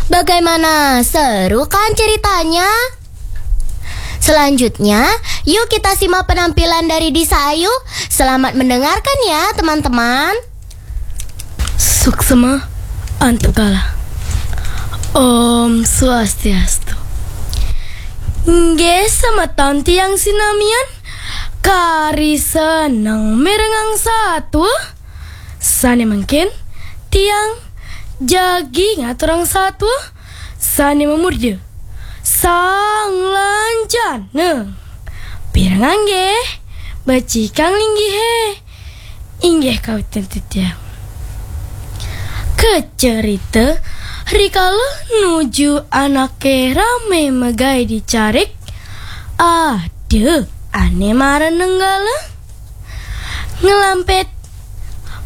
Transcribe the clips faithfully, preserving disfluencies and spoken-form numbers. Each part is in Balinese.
Bagaimana, seru kan ceritanya? Selanjutnya, yuk kita simak penampilan dari Disa Ayu. Selamat mendengarkan ya, teman-teman. Suksma Antakala. Om Swastiastu. Inggih, semeton tiang sinamian, kari seneng mirengang satua. Sane mangkin, tiang jagi ngaturang satua sane mamurda Sang Lanjana. Pirengang nggih, becikang linggihe. Inggih kawitin titiang. Kacarita, rikala nuju anake rame magae di carik, ada ane mara nenggala, nglampet,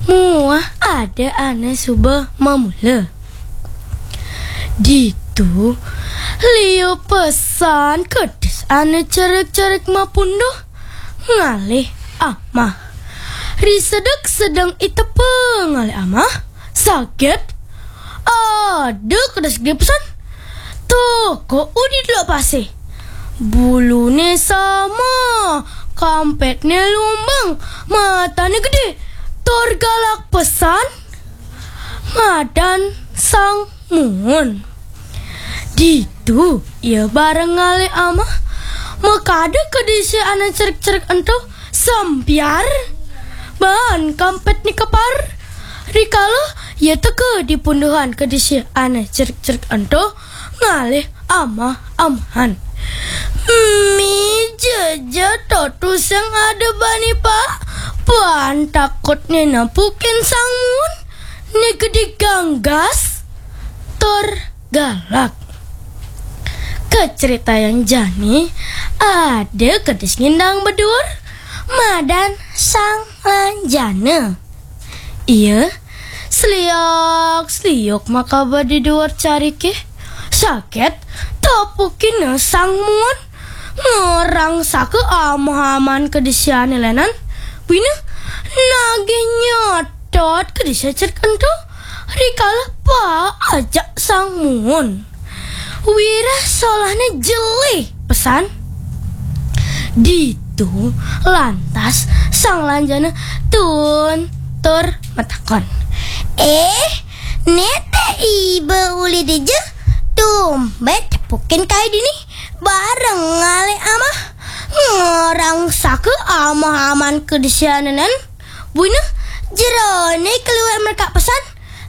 muah ada ane suba mamula. Ditu liu pesan kedis ane cerik-cerik mapunduh ngalih amah. Ri sedek sedeng itepa ngalih amah, saget. Ada kedis gede pesan. Toko udi delok pasih. Bulune sama, kampetne lumbang, matane gede, tur galak pesan. Madan Sang Muun. Ditu ia bareng ngalih amah, makada kedise ane cerik-cerik ento sampiar, ban kampetne kepar. Rikala ia teka di punduhan kedise ane cerik-cerik ento ngalih amah-amahan. Mija ja to tusing ada bani, Pak. Pan takutne nepukin Sang Muun. Niki diganggas tur galak. Kacaritayang jani, ada kedis ngindang bedur, madan Sang Lanjana. Ia seliak-seliuk makaba di duur carike. Saget tepukina Sang Muun. Ngrangsaka amah-amahan kedise ane lenan. Buina nagih nyetot kedise cerik ento. Rikala paajak Sang Muun. Wireh solahne jelih pesan. Ditu lantas Sang Lanjana tuun tur matakon. "Eh, nete iba uli dija? Tumben tepukin kai dini bareng ngalih amah, ngrangsaka amah-amahan kedise ane lenan." Buina jerone kaliwat merekak pesan,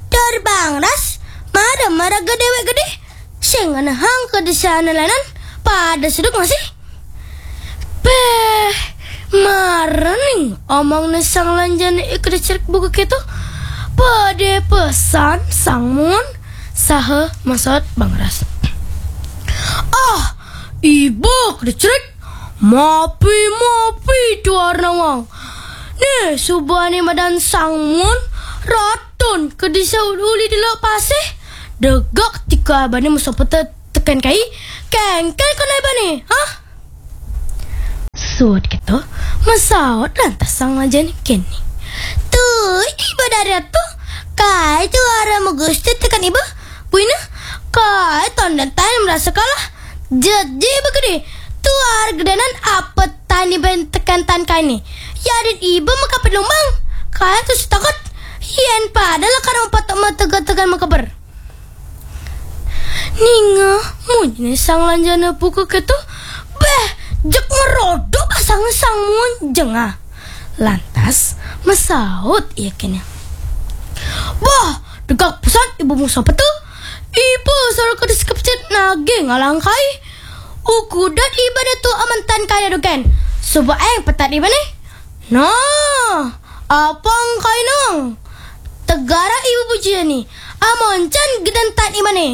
tur bangras mara-mara gedewek gede. Sing ngenehang kedise ane lenan pada sedek masih. Beh, mara ning omongne Sang Lanjana i kedis cerik buka keto, pade pesan Sang Muun saha masaut bangras. "Ah, iba kedis cerik, mapi-mapi tuara nawang. Nih, subane madan Sang Muun, ratun kedise uli delok pasih, degak tika ibane masopeta teken kai, kengken kena ibane, hah?" Suud keto, masaut lantas Sang Lanjana kene. "Tui iba dadi ratu, kai tuara magusti teken iba. Buina, kai tondentan marasa kalah. Jejeh iba gede, tuara gedenan apetan iba teken tan kaine. Yadin iba makampet lumbang, kai tusing takut. Yen pada lakar mapetuk matega-tegan makeber." Ningeh munyine Sang Lanjana buka keto, beh, jeg ngerodok asange Sang Muun jengah. Lantas masaut ia kene. "Bah, degak pesan iba masopeta. Iba sora kedis kepecet nagih ngalahang kai. Ukudan iba datu amantan kai dogen. Suba aeng petan ibane. Nah, apang kainang. Tegara iba bujine, amoncan gedentan ibane."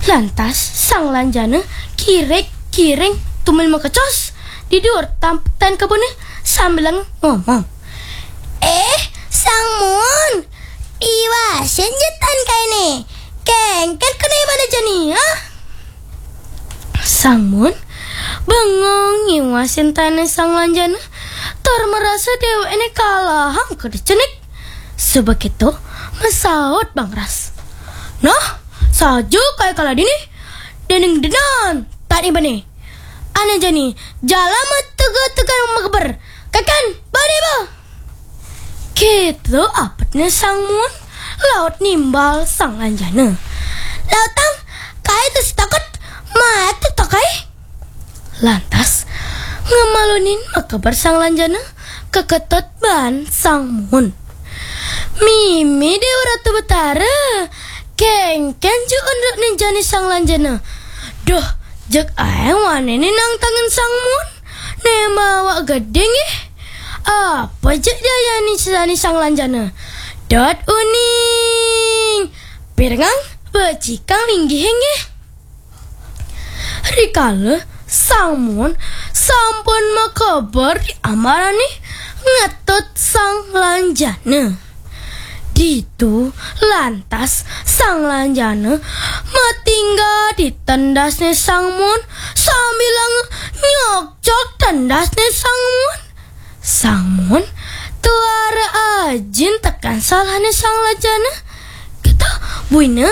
Lantas Sang Lanjana kirik-kiring tumel makecos di duur tampetan kebune sambilang ngomong, "Eh, Sang Muun, iwasin ja tan kaine. Kengken kena ibane jani, ah?" Sang Muun bengong ngiwasin tane Sang Lanjana, tur marasa dewekne kalahang kedis cerik. Suba keto masaut bangras. "Nah, Taju kai kala dini, déning dénan tani bani. Ané jani, jala matega-tega makeber. Kékén bani ba. Kéto abetné Sang Muun, laut nimbal Sang Lanjana. Lautang, kai to si taket, maet to kai. Lantas, ngamalunin makeber Sang Lanjana, ka Ketut baan Sang Muun. Mimih Déwa Ratu Betara, kénkén jani unduk jani Sang Lanjana. Duh, jeg aéng wanéné nangtangin Sang Muun. Né mawa gedé nggih. Apa jeg dayani jani Sang Lanjana? Dot uning. Pirengang becikang linggihé nggih. Rikala Sang Muun sampun makeber di ambarané ngetut Sang Lanjana. Ditu lantas Sang Lanjana matingga di tendasné Sang Muun sambilanga nyokcok tendasné Sang Muun. Sang Muun tuara ajin tekén salahné Sang Lanjana. Kéto buina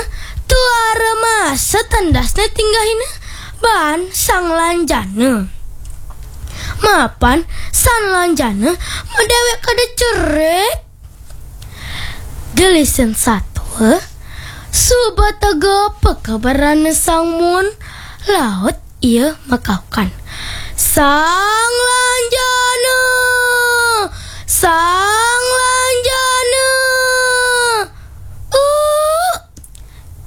tuara masa tendasné tinggahina baan Sang Lanjana. Mapan Sang Lanjana madéwék kada cerik. Gelisin satua, suba tega pakeberané Sang Muun, laut ia makaukan. Sang Lanjana! Sang Lanjana! Uh!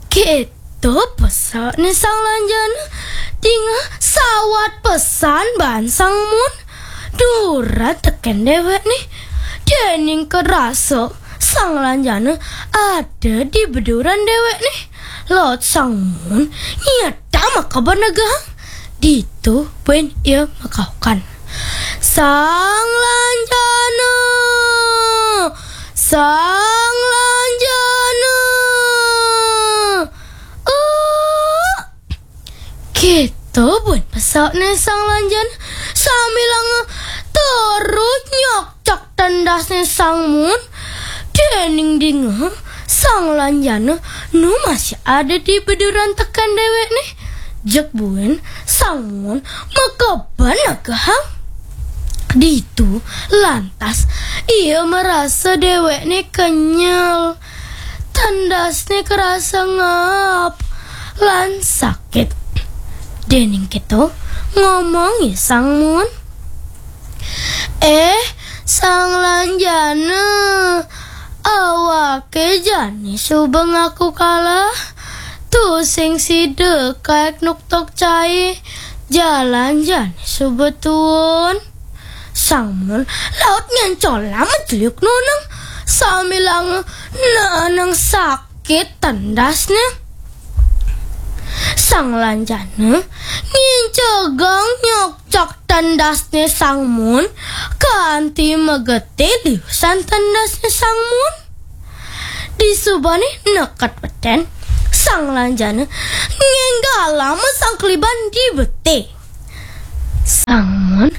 Kéto pesané Sang Lanjana, dingeh sawat pesan baan Sang Muun. Duran tekén déwékné. Déning karasa Sang Lanjana ada di beduran déwékné. Laut Sang Muun nyedang makeber negehang. Ditu buin ia makaukan. Sang Lanjana! Sang Lanjana! Uh! Kéto buin pesané Sang Lanjana sambilanga terus nyokcok tendasné Sang Muun. Déning dingeh Sang Lanjana nu masih ada di beduran tekén déwékné. Jeg buin Sang Muun makeber negehang. Ditu lantas ia marasa déwékné kenyel. Tendasné karasa ngap lan sakit. Déning kéto ngomong ia Sang Muun. Eh, Sang Lanjana, awaké jani suba ngaku kalah. Tusing sida kaék nuktuk cai, jalan jani suba tuun. Sang Muun laut ngencolang majeliuk nuneng sambilanga neenang sakit tendasné. Sang Lanjana ngincegang nyokcok tendasné Sang Muun kanti mageti liusan tendasné Sang Muun. Disubané neket betén, Sang Lanjana ngénggalang masangkliban di beti. Sang Muun